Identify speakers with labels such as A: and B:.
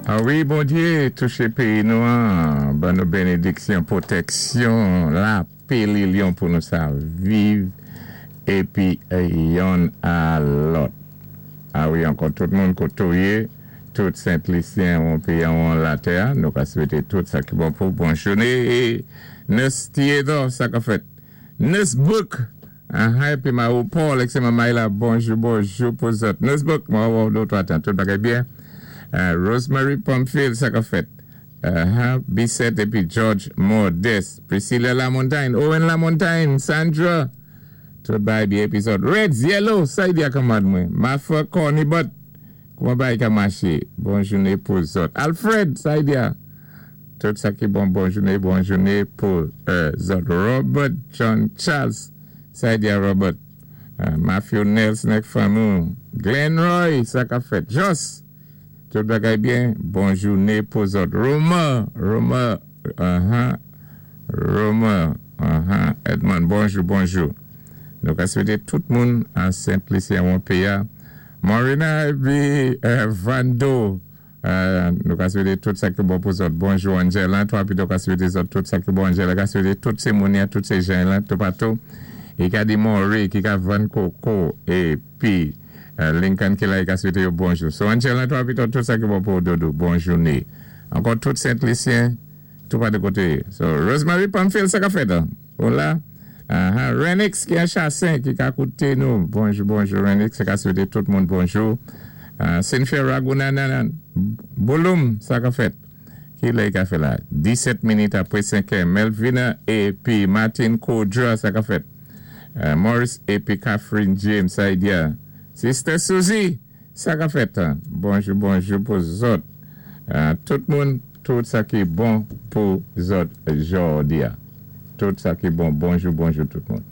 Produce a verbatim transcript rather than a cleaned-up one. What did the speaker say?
A: A wi, Bondyé, touché péyi nou an, ban nou bénédiksyon, pwotèksyon, lapè, linyon pou nou sa viv, épi yonn a lòt. A wi, ankò tout moun koté ou yé, tout Sent-Lisyen ou péyi an latè, nou ka swété tout sa ki bon pou bon jouné, é Nurse Theodore, sa ka fèt. Nurse Book, ah, épi ma Paul, ek Maïla, bonjou, bonjou pou zòt. Nurse Book, mwen wè ou twa tan, tout bagay byen. Uh, Rosemary Pamphile, sa ka fèt. Uh, Bissett épi George Modeste. Priscilla Lamontagne, Owen Lamontagne, Sandra. Tout bagay byen épi zòt. Reds, Yellow, sa y di a kanmad mwen. Mafa Cornibot, kouman bagay ka maché? Bon jouné pou zòt. Alfred, sa y di a. Tout sa ki bon, bon jouné, bon jouné pou euh, zòt. Robert John Charles, sa y di a Robert. Uh, Matthew Nelson ak fanmi. Glenn Roy, sa ka fèt. Joss, tout bagay byen, bon jouné pou zòt. Roma, Roma, uh-huh, Roma, uh-huh, Edmond, bonjou, bonjou. Nou ka swété tout moun an Sent-Lisyen ou péyi. Morina épi euh, Vando, euh, nou ka swété tout sa ki bon pou zòt. Bonjou Angela, twa pi nou ka swété zòt tout sa ki bon Angela, ka swété tout sé moun tout sé jan la, toupatou. I ka di Maury ki ka vann koko épi euh, Lincoln ki la, i ka swété yo bonjou. So Angela, twa pi tout sa ki bon pou Dodo, bon jouné. Ankò tout Sent-Lisyen, tout pa de koté. So Rosemary Pamphile, sa ka fèt, hein? Hola. Uh-huh. Renix ki an Chassin, ki ka kouté nou. Bonjou, bonjou Renix, ka swété tout moun bonjou. Uh, Cynthia Ragunanan, Bouloum, sa ka fèt. Ki lè ka fè la? disèt minit apwé senk è. Melvina épi Martin Kodra, sa ka fèt. Uh, Morris épi Catherine James, sa y di a. Sister Suzy, sa ka fèt. Hein? Bonjou, bonjou pou zòt. Uh, tout moun, tout sa ki bon pou zòt jòdi a. Tout sa ki bon, bonjou, bonjou tout moun.